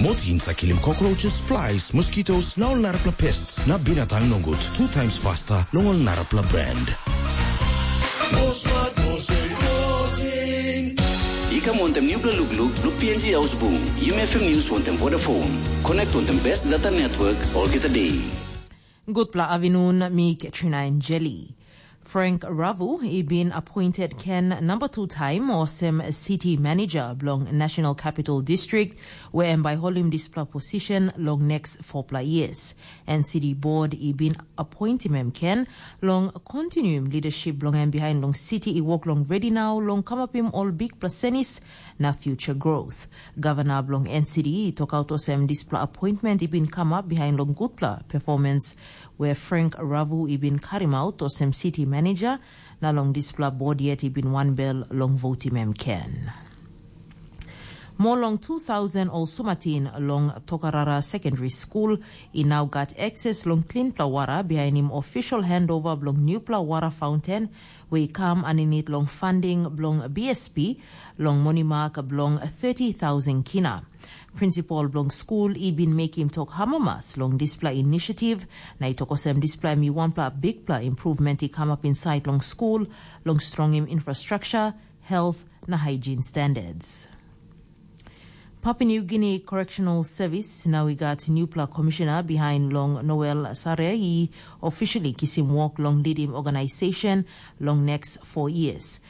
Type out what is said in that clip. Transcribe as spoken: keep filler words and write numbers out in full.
Motin sa kilim cockroaches, flies, mosquitoes, na ol narapela pests na binatang nogut two times faster long ol narapela brand. I kam wantem nupela lukluk long P N G Ausbung, Yumi F M News wantem Vodafone. Connect wantem best data network olgeta day. Gutpela avinun, mi Katrina Enjeli. Frank Ravu i bin appointed ken number two time olsem city manager bilong National Capital District, where em bai holim dispela position long next four pla years. And city board i bin appointim em ken long continuim leadership bilong em behind long city i work long ready now long kamapim ol big placenis na future growth. Governor bilong N C D i tokaut olsem dispela appointment i bin kamap behind long gutpela performance where Frank Ravu i bin karim out olsem city manager, na long dispela board yet i bin wanbel long votim em ken. More long two thousand ol sumatin long Tokarara Secondary School i nau gat ekses long klinpela wara bihainim official handover bilong newpela wara fountain, we i kam aninit long funding bilong B S P long monimak bilong thirty thousand kina. Prinsipal bilong skul i bin mekim tok amamas long dispela inisiativ, na i tok olsem dispela em i wanpela bikpela improvement i kamap insait long skul, long strongim infrastructure, health na hygiene standards. Papua New Guinea Correctional Service nau i gat newpela komishina behind long Noel Sare i officially kisim wok long lidim organization long next four years.